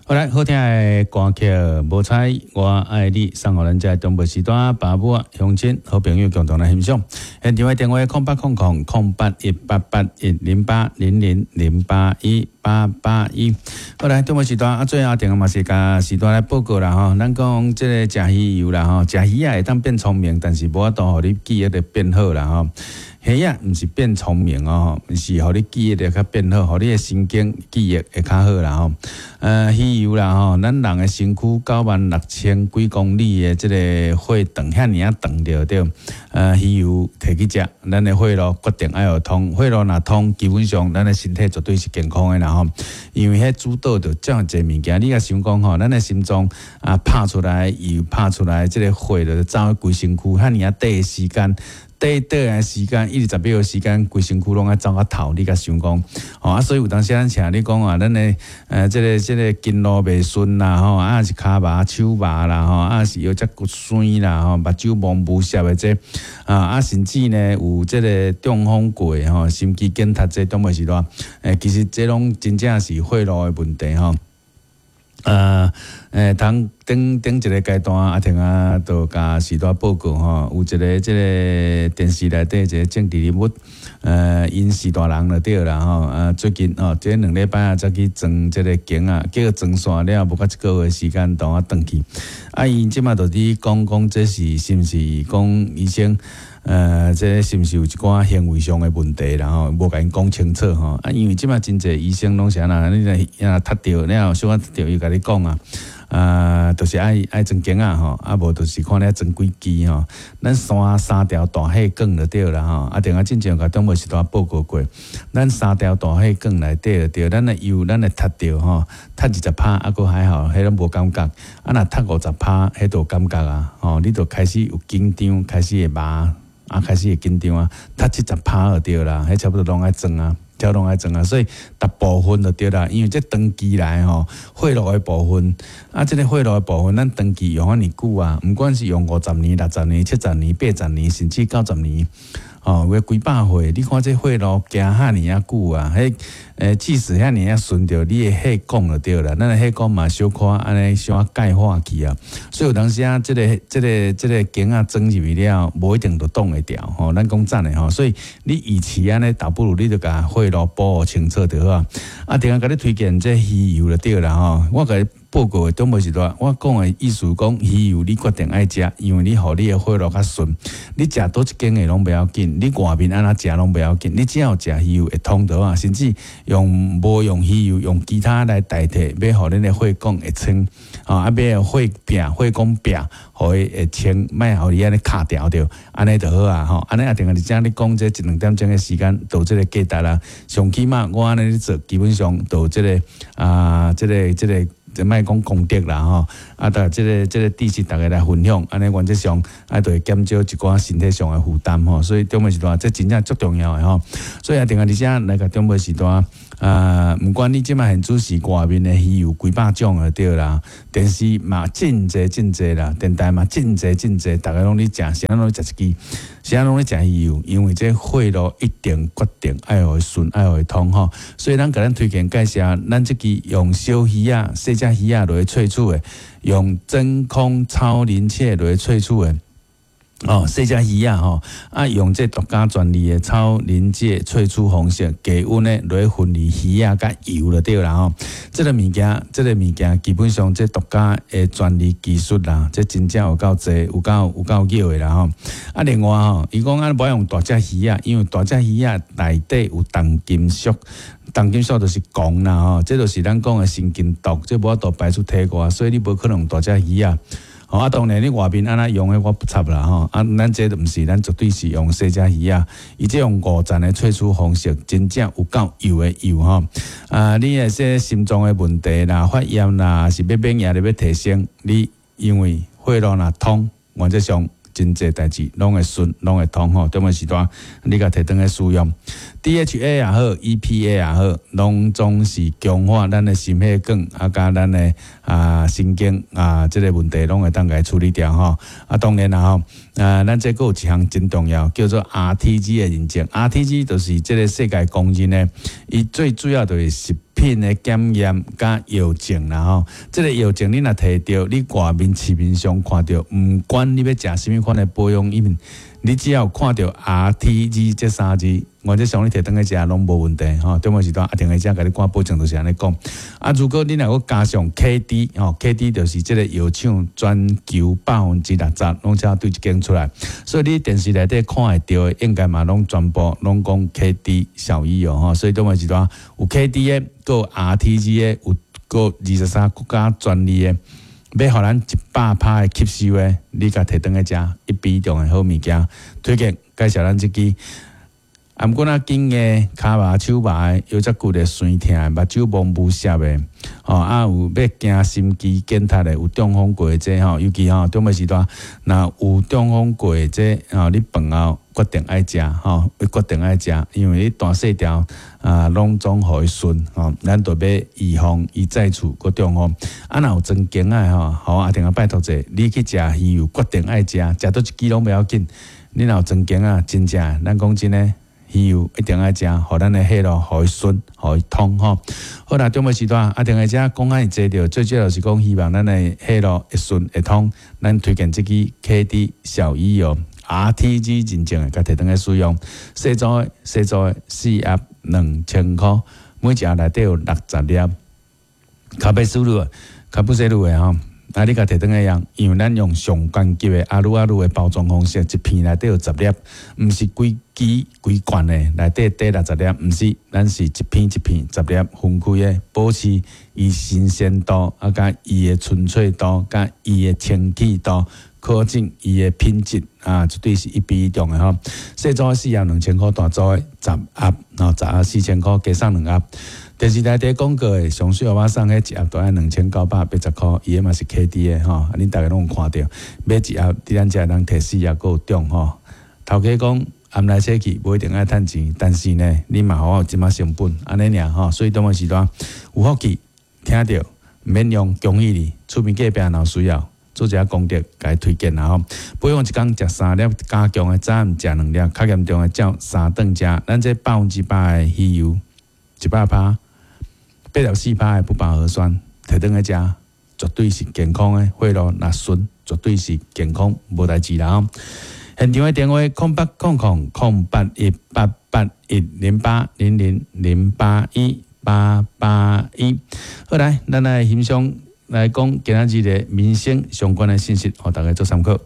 好來，好聽的歌曲《無彩我愛你》送予咱遮中部時段爸母鄉親好朋友共同來欣賞。現場的電話08000818810800081881。好來，中部時段啊，最後電話嘛是共時段來報告啦吼。咱講這个食魚油啦吼，食魚仔會當變聰明，但是無法度予你記憶力變好啦吼。魚仔毋是變聰明哦，是予你記憶力較變好，予你的神經記憶會較好啦吼。魚油啦吼，咱人的身軀96,000幾公里的這个血腸遐爾仔長著對。魚油提去食，咱的血路決定愛予通，血路若通，基本上咱的身體絕對是健康的啦吼。因為彼主導著遮濟物件，你若想講吼，咱的心臟啊拍出來油，拍出來這个血就走規身軀，遐爾仔短的時間。短短的時間，20秒的時間，規身軀攏愛走較透，你共想講，吼啊！所以有當時咱請你講啊，咱的這个筋路袂順啦，吼啊是跤麻手麻啦，吼啊是腰脊骨酸啦，吼目睭蒙霧涩的這啊，甚至呢有這个中風過吼，心肌梗塞這中無時段，其實這攏真正是血路的問題吼。通頂頂一个階段，阿婷啊，就共時代報告吼，有一个這个電視內底一个政治人物，𪜶是大人就對啦吼，啊，最近吼，這2禮拜啊，才去裝這个鏡啊，結果裝線了無夠一個月時間，就啊轉去。啊，𪜶這馬就佇講講，這是是毋是講醫生？這是毋是有一寡行為上的問題，然後無共𪜶講清楚吼。啊，因為這馬真濟醫生攏是按怎，你若窒著了，小可窒著，伊共你講啊，啊，就是愛裝鏡仔吼，啊無就是看你愛裝幾支吼。咱三條大血管就對啦吼。啊，定啊進前共中無時段報告過，咱三條大血管內底就對，咱的油咱會窒著吼，窒20趴啊，閣還好，彼攏無感覺。啊，若窒50趴，彼就有感覺啊，吼，你就開始有緊張，開始會麻。啊，開始會緊張啊，窒70趴就對啦，彼差不多攏愛裝啊，差不多攏愛裝啊，所以大部分就對啦，因為這長期來吼，血路的部分，啊，這个血路的部分，咱長期用遐爾久啊，毋管是用50年、60年、70年、80年，甚至90年，吼，有幾百歲，你看這血路行遐爾仔久啊，彼即使遐爾仔順著你的血管就對啦，咱的血管嘛小可按呢小可鈣化去啊，所以有當時啊，這个鏡仔裝入去了，無一定就擋會牢吼。咱講真的吼，所以你與其按呢，倒不如你就共血路補清楚就好啊。啊，定共你推薦這魚油就對啦吼，我共你報告的中無時段，我講的意思講魚油你決定愛食，因為你予你的血路較順，你食佗一間的攏袂要緊，你外面按怎食攏袂要緊，你只要食魚油會通就好啊，甚至用無用魚油，用其他來代替，欲予恁的血管會清，啊，欲血壁血管壁，予伊會清，莫予伊按呢卡牢著，按呢就好啊吼，按呢啊定係遮你講這一兩點鐘的時間，就這个價值啦。上起碼我按呢咧做，基本上就這个啊，這个。就莫講功德啦吼，啊，逐這个知識逐家來分享，按呢原則上啊，就會減少一寡身體上的負擔吼。所以中暝時段這真正足重要的吼。所以啊，定下佇遮來共中暝時段啊，毋管你這馬現主時外面的魚有幾百種就對啦，電視嘛真濟真濟啦，電台嘛真濟真濟，逐家攏咧食，啥攏咧食一支，啥攏咧食魚油，因為這血路一定決定愛予伊順，愛予伊通吼。所以咱共咱推薦介紹，咱這支用小魚仔、細隻魚仔來萃取的，用真空超臨界來萃取的。哦，細隻魚仔吼，啊，用這獨家專利的超臨界萃取方式，低溫的來分離魚仔佮油就對啦吼。這个物件基本上這獨家的專利技術啦，這真正有夠濟，有夠妙的啦吼。啊，另外吼，伊講啊，無愛用大隻魚仔，因為大隻魚仔內底有重金屬。重金屬就是汞啦吼，這就是咱講的神經毒，這無法度排出體外，所以你無可能用大隻魚仔。吼啊，當然你外面按怎用的我不插啦吼，啊，咱這毋是，咱絕對是用細隻魚仔，伊這用五層的萃取方式，真正有夠油的油吼。啊，你的這心臟的問題啦、發炎啦，是欲免疫力欲提升，你因為血路若通，原則上真濟代誌攏會順，攏會通吼。中午時段你共提轉去使用，DHA 也好，EPA 也好，攏總是強化咱的心血管啊，佮咱的啊神經啊，這个問題攏會當共處理掉吼。啊，當然啦吼，啊，咱這閣有一項真重要，叫做 RTG 的認證。RTG 就是這个世界公認的，伊最主要就是食品的檢驗佮藥證啦吼。這个藥證你若提著，你外面市面上看著，毋管你欲食啥物款的保養品，你只要看著 RTG 這三字，原則上你提轉去食攏無問題吼。中午時段阿婷會遮共你趕保證，就是按呢講。啊，如果你若閣加上 KD 吼，KD 就是這个藥廠全球60%攏才對一間出來，所以你電視內底看會著的，應該嘛攏全部攏講 KD 小醫藥吼。所以中午時段有 KD 的，閣有 RTG 的，有閣23國家專利的。欲予咱100%的吸收的，你共提轉去食一比中的好物件，推薦介紹咱這支。啊，毋過若頸的、跤麻、手麻的、腰脊骨的酸疼的、目睭蒙霧澀的，吼啊有欲驚心肌梗塞的，有中風過的這吼，尤其吼中尾時段，若有中風過的這吼，你飯後決定愛食吼，決定愛食，因為你大細條啊，攏總予伊順吼，咱就欲預防伊再次閣中風。啊，若有裝頸仔的吼，好阿定啊拜託者，你去食魚油，決定愛食，食佗一支攏袂要緊。你若有裝頸仔，真正咱講真的。魚油一定愛食，予咱的血路予伊順，予伊通吼。好啦，中晡時段阿定會遮講遐爾濟著，最主要是講希望咱的血路會順會通。咱推薦這支 KD 小魚油 RTG 認證的，共提轉去使用。細組的細組的四盒2000箍，每一盒內底有60粒。卡貝斯魯，卡布西魯的吼。啊！你共提轉去用，因為咱用上高級的阿魯阿魯的包裝方式，一片內底有十粒，毋是規支規罐的，內底底60粒，毋是，咱是一片一片十粒分開的，保持伊新鮮度，啊，佮伊的純粹度，佮伊的清氣度，可見伊的品質啊，絕對是一比一中的吼。細組四盒2000箍，大組的十盒，吼10盒4000箍，加送兩盒。電視台佇廣告的上水歐巴桑，彼一盒都愛2980箍，伊的嘛是 KD 的吼，啊恁逐家攏有看著，買一盒佇咱遮通提四盒閣有中吼。頭家講暗來洗去，無一定愛趁錢，但是呢，你嘛予我有這馬成本，按呢爾吼，所以當個時段有福氣聽著，毋免用，恭喜你，厝邊隔壁若有需要，做一下功德，共伊推薦啦吼。保養一工食三粒加強的，早暗食兩粒，較嚴重的照三頓食。咱這100%的魚油，100%。84%的不飽和酸，提轉去食，絕對是健康的。血路若順，絕對是健康，無代誌啦。現場的電話：0800 008 8810800 081 881。好來，咱來欣賞來講今仔日的民生相關的信息，予大家做參考。